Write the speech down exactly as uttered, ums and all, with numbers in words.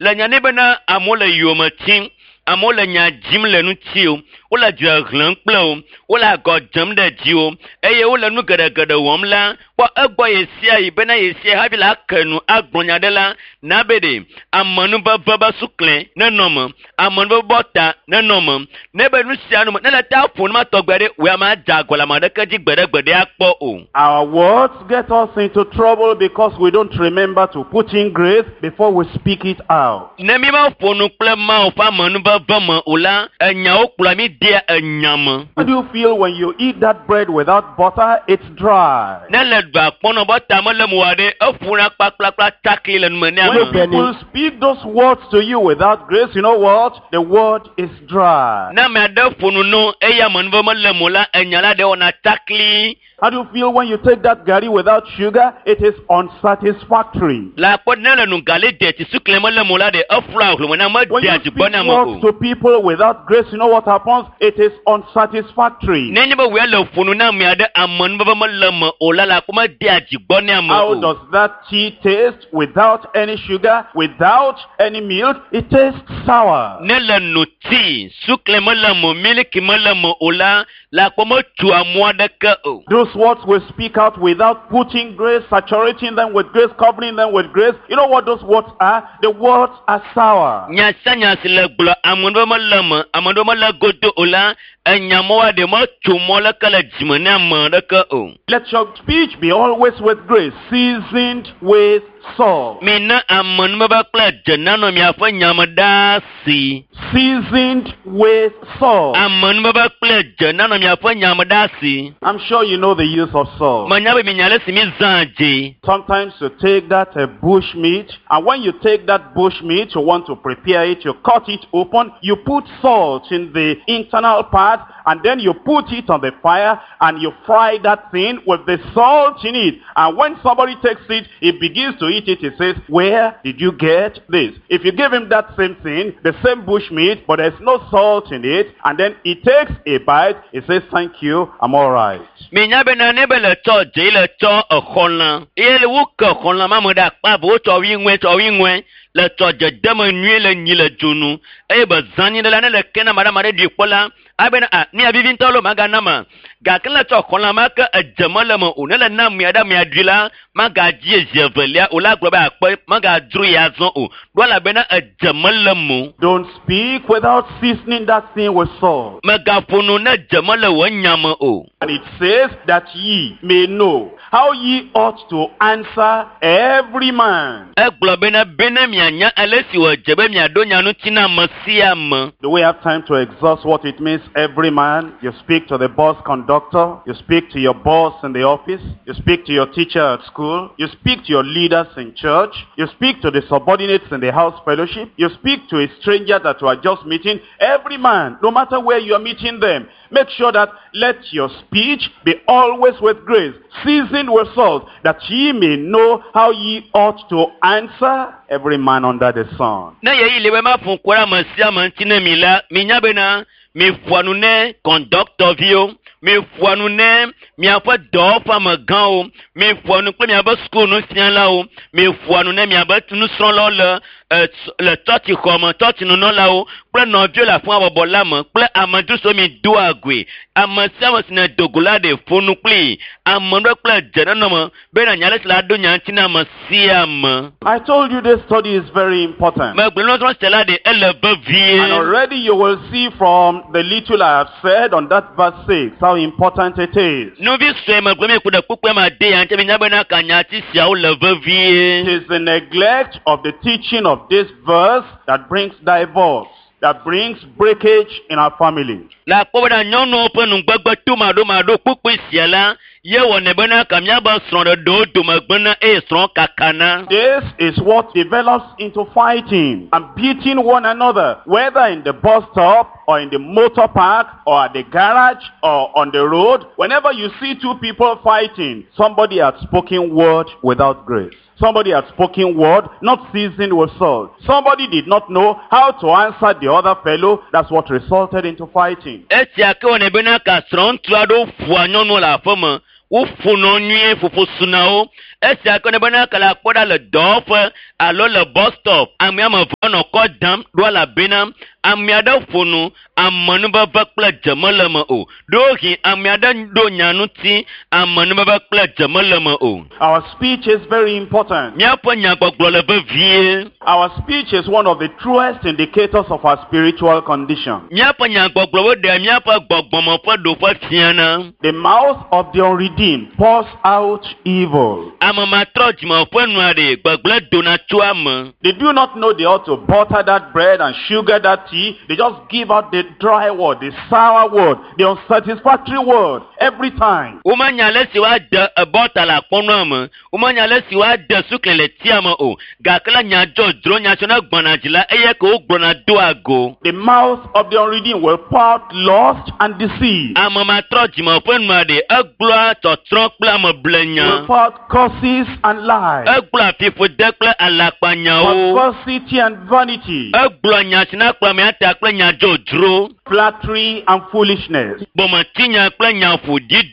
Le nya ne bena amewo le yome tim, amewo le nya dzim le ŋuti o, wole dzre hlẽm kple wo, wole agɔ dzem ɖe dziwò eye wole nu geɖegeɖe wɔm la, kpɔ egbɔ ɣe sia ɣi bena ɣe sia hafi la ke nu agblɔ nya ɖe la, na be ɖe amenuveve be sukle nenɔ me, amenuveve be ta nenɔ me. Ne be nu sia nu me, ne le ta ƒo nu ma tɔgbe ɖe, wò ya madze agɔ le ame aɖeke dzi gbeɖegbeɖe akpɔ o. Our words get us into trouble because we don't remember to put in grace before we speak it out. Ne mi ma ƒo nu kple Mawu ƒe amenuveve me o la, enyawo kplɔa mi dea enya me. How do you feel when you eat that bread without butter? It's dry. Ne le ɖu akpɔnɔ be ta mele mu wa ɖe, eƒuna kpakplakpla takli le nume ne When ame. people speak those words to you without grace, you know what? The word is dry. Ne ame aɖe ƒo nu no eye amenuveve mele mu la, enya la ɖe wɔna takli. How do you feel when you take that gari without sugar? It is unsatisfactory. Le akpɔ ne le nu gali de tsi sukle mele mu la ɖe, eflua hlome na When medea you dzi speak gbɔ na ame words o. to people without grace, you know what happens? It is unsatisfactory. Ne nye be wòe le ƒo nu na ame aɖe amenuveve mele me o la, le akpɔ medea dzi gbɔ ne ame How o. does that tea taste without any sugar, without any milk? It tastes sour. Ne le no tii, sukle mele me o, miliki mele me o la, le akpɔ metu amu aɖeke o. Those words we speak out without putting grace, saturating them with grace, covering them with grace. You know what those words are? The words are sour. Nya sia nya si le gblɔ amenuveve mele me, amenuveve mele godo o la, enya mɔ ɖe metso mɔ leke le dzime ne ame aɖeke o. Let your speech be always with grace, seasoned with salt. Mina amenuveve kple dze nanɔ miaƒe nyame ɖaa si. Seasoned with salt. Amenuveve kple dze nanɔ miaƒe nyame ɖaa si. I'm sure you know the use of salt. Menya be minya ale si mi zã dze. Sometimes you take that uh, bush meat, and when you take that bush meat, you want to prepare it, you cut it open, you put salt in the internal part, and then you put it on the fire, and you fry that thing with the salt in it. And when somebody takes it, he begins to eat it, he says, where did you get this? If you give him that same thing, the same bush meat, but there's no salt in it, and then he takes a bite, he says, thank you, I'm all right. Minya bena ne be le tsɔ dze le tsɔ exɔlã eye le woke xɔlã ma me ɖe akpa eve wotsɔ wi ŋue tsɔ wi ŋue le tsɔ dzedeme nyuie le nyi le dzonu eye be zã nyi ɖe la ne le ke na ame ɖe ame ɖe ɖui kpɔ la abena a mia vivi ŋutɔ lo magana ma gake ne le tsɔ xɔlã ma ke edze mele me o ne le na amea ɖe amea ɖui la magadzi zi evelia o la gblɔ be akpe magadzro ya zɔ o ɖo elabena edze mele me o. Don't speak without seasoning that thing with salt. Megaƒo nu ne dze mele wò nya me o. And it says that ye may know how ye ought to answer every man. Egblɔ bena bena mianya ale si wòdze be miaɖo nya ŋuti na ame sia ame. Do we have time to exhaust what it means, every man? You speak to the bus conductor, you speak to your boss in the office, you speak to your teacher at school, you speak to your leaders in church, you speak to the subordinates in the house fellowship, you speak to a stranger that you are just meeting. Every man, no matter where you are meeting them, make sure that let your speech be always with grace, seasoned with salt, that ye may know how ye ought to answer every man under the sun. Ne yeyi le be maƒo ŋku ɖe ame sia ame ŋuti ne mi la, minya bena miƒoa nu ne kɔndɔktɔviwo, miƒoa nu ne miaƒe dɔwɔƒeamegãwo, miƒoa nu kple miaƒe sukunufialawo, miƒoa nu ne miaƒe nusrɔ̃lawo le e, le tsɔtsixɔme, tsɔtsinunɔlawo kple nɔviwo le afi ma bɔbɔ la me kple amedzro siwo mi doa goe. Ame sia ame si ne do go la ɖe ƒo nu kplii. Ame ɖe kple dze nenɔ me bena nya ale si la ɖo nya ŋuti na ame sia ame. I told you this study is very important. Megblɔ nusrɔ̃ sia la ɖe ele vevie. And already you will see from the little I have said on that verse six how important it is. Nuvi sue megblɔ mi ku ɖe kpukpue ma de ya ŋuti minya bena ka nyati siawo le vevie. It is the neglect of the teaching of this verse that brings divorce, that brings breakage in our family. Le akpɔ bena nyɔnuwo ƒe nugbegbe tomaɖomaɖo kpukpui sia la ye wɔnɛ bena ka míabe srɔ̃ɖeɖewo dome gblẽna eye srɔ̃ kakana. This is what develops into fighting and beating one another, whether in the bus stop or in the motor park or at the garage or on the road. Whenever you see two people fighting, somebody has spoken word without grace. Somebody had spoken word, not seasoned with salt. Somebody did not know how to answer the other fellow. That's what resulted into fighting. Esia ke wɔnɛ bena ka srɔ̃ŋutsu aɖewo ƒoa nyɔnuwo le aƒeme. Woƒonɔ nyuie ƒoƒo suna wo. Esia ke ne bena ke le akpɔ ɖa le dɔwɔƒe alo le bus stop. Ame ame eve nɔ kɔ dam ɖo elabena ame aɖe ƒo nu amenuveve kple dze mele me o. Ɖewohĩ ame aɖe ɖo nya ŋuti amenuveve kple dze mele me o. Our speech is very important. Míaƒe nyagbɔgblɔ le vevie. Our speech is one of the truest indicators of our spiritual condition. Míaƒe nyagbɔgblɔwo ɖea míaƒe gbɔgbɔme ƒe ɖoƒe fiana. The mouth of the unredeemed pours out evil. Ame matrɔ dzime ƒe nua ɖe gbegblẽ dona tso ame. They do not know they ought to butter that bread and sugar that tea. They just give out the dry word, the sour word, the unsatisfactory word every time. Womenya ale si woade bɔta le akpɔnɔa me. Womenya ale si woade sukli le tia me o. Gake la nya dzodzro nya tso ne gbɔna dzi la eye ke wogblɔna doa go. The mouth of the unredeemed will pour out lust and deceit. Ame matrɔ dzime ƒe nua ɖe egblɔa tsɔtsrɔ̃ kple Will ameblenya. pour out curses and lies. Egblɔa fiƒode kple alakpanyawo. Perversity and vanity. Egblɔa nya si na kplɔ amea ta kple nya dzodzro. Flattery and foolishness. Gbɔmetinya kple nya ƒoɖi